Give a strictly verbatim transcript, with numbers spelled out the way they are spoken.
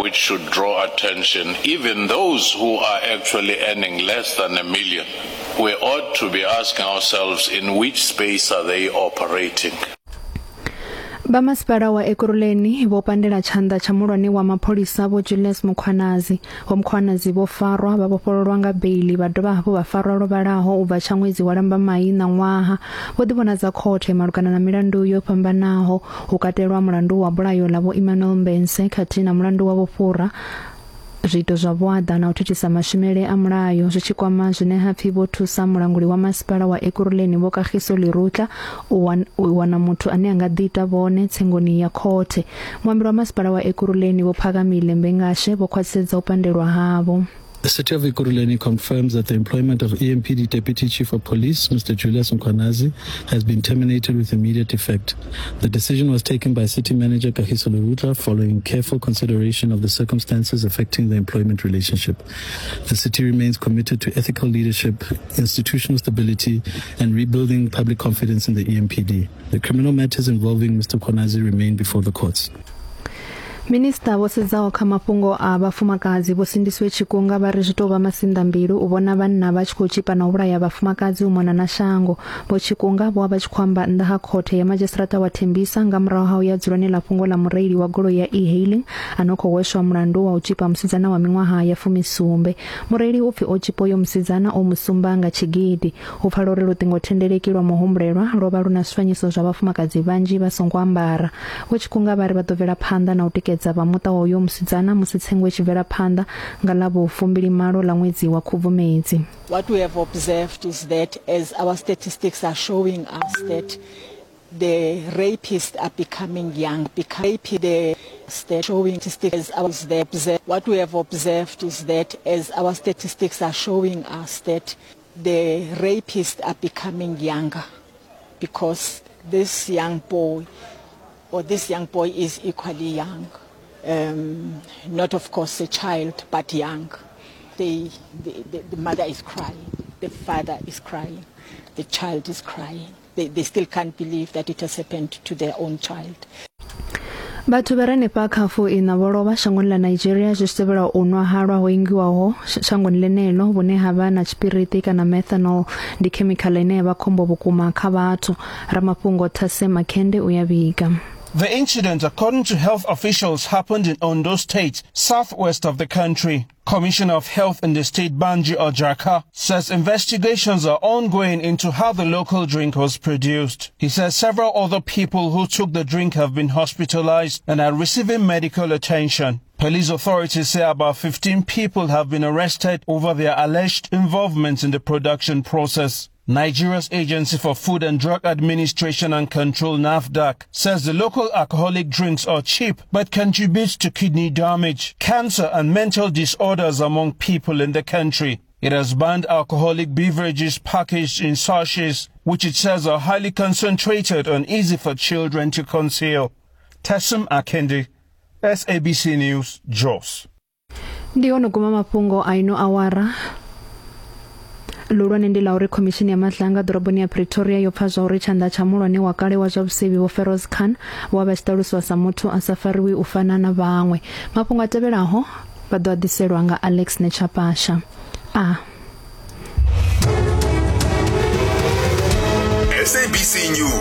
which should draw attention, even those who are actually earning less than a million. We ought to be asking ourselves, in which space are they operating? Vha masipala wa Ekurhuleni vho pandela tshanḓa tsha muhulwane wa mapholisa Vho Julius Mkhwanazi. Vho Mkhwanazi vho farwa vha vhofhololwa nga beili vha dovha hafhu vha farwa lwo vhalaho u bva tsha ṅwedzi wa Lambamai ṋaṅwaha. Vho ḓivhonadza khothe malugana na milandu yo fhambanaho, hu katelwa mulandu wa bulayo ḽa Vho Emmanuel Mbense khathihi na mulandu wa vhufhura, zwiito zwa vhuaḓa na u thithisa mashumele a mulayo zwi tshi kwama zwine ha pfi vho thusa mulanguli wa masipala wa Ekurhuleni Vho Kagiso Lerutla u wana muthu ane a nga ḓiita vhone tsengoni ya khothe. Muambeli wa masipala wa Ekurhuleni Vho Phakamile Mbengashe vho khwaṱhisedza u pandelwa havho. The City of Ekurhuleni confirms that the employment of E M P D Deputy Chief of Police, Mister Julius Mkhwanazi, has been terminated with immediate effect. The decision was taken by City Manager Kagiso Lerutla following careful consideration of the circumstances affecting the employment relationship. The city remains committed to ethical leadership, institutional stability, and rebuilding public confidence in the E M P D. The criminal matters involving Mister Mkhwanazi remain before the courts. Minista vho sedzaho kha mafhungo a vhafumakadzi Vho Sindisiwe Tshikunga vha ri zwi tou vha masinḓambilu u vhona vhanna vha tshi khou tshipa na u vhulaya vhafumakadzi u mona na shango. Vho Tshikunga vho vha tshi khou amba nnḓa ha khothe ya madzhisiṱiraṱa wa Tembisa nga murahu ha u ya dzuloni ḽa fhungo ḽa mureili wa goloi ya e-hailing a no khou hweswa mulandu wa u tshipa musidzana wa miṅwaha ya fumisumbe. Mureili u pfi o tshipa uyo musidzana o musumba nga tshigidi. Hu pfala uri luṱingothendeleki lwa muhumbulelwa lwo vha lu na zwifanyiso zwa vhafumakadzi vhanzhi vha songo ambara. Vho Tshikunga vha ri vha ḓo bvela phanḓa na u tikedza vha muṱa wa uyo musidzana musi tsengo i tshi bvela phanḓa nga ḽa vhufumbili malo ḽa ṅwedzi wa Khubvumedzi. What we have observed is that as our statistics are showing us that the rapists are becoming young, becoming the showing statistics as the what we have observed is that as our statistics are showing us that the rapists are becoming younger, because this young boy or this young boy is equally young, um, not of course a child, but young. They, the, the, the mother is crying, the father is crying, the child is crying. They, they still can't believe that it has happened to their own child. Vhathu vha re hanefha kha fuiṋa vho lovha shangoni ḽa Nigeria zwi tshi tevhela u nwa halwa ho ingiwaho shangoni ḽeneḽo vhune ha vha na tshipiriṱi kana methanol, ndi khemikhala ine ya vha khombo vhukuma kha vhathu. Ramafhungo Thase Makhende u ya vhiga. The incident, according to health officials, happened in Ondo State, southwest of the country. Commissioner of Health in the state, Banji Ojaka, says investigations are ongoing into how the local drink was produced. He says several other people who took the drink have been hospitalized and are receiving medical attention. Police authorities say about fifteen people have been arrested over their alleged involvement in the production process. Nigeria's Agency for Food and Drug Administration and Control, NAFDAC, says the local alcoholic drinks are cheap but contribute to kidney damage, cancer and mental disorders among people in the country. It has banned alcoholic beverages packaged in sachets, which it says are highly concentrated and easy for children to conceal. Tessim Akende, S A B C News, Jos. Ndi ono guma mafhungo a ino awara. Luhulwane ndi ḽa uri khomishini ya Madlanga ḓoroboni ya Pretoria yo pfa zwa uri tshanḓa tsha muhulwane wa kale wa zwa vhusevhi Vho Feroz Khan vho vha tshi ṱaluswa sa muthu a sa fariwi u fana na vhaṅwe. Mafhungo a tevhelaho vha ḓo a ḓiselwa nga Alex Nechapasha. A S A B C News.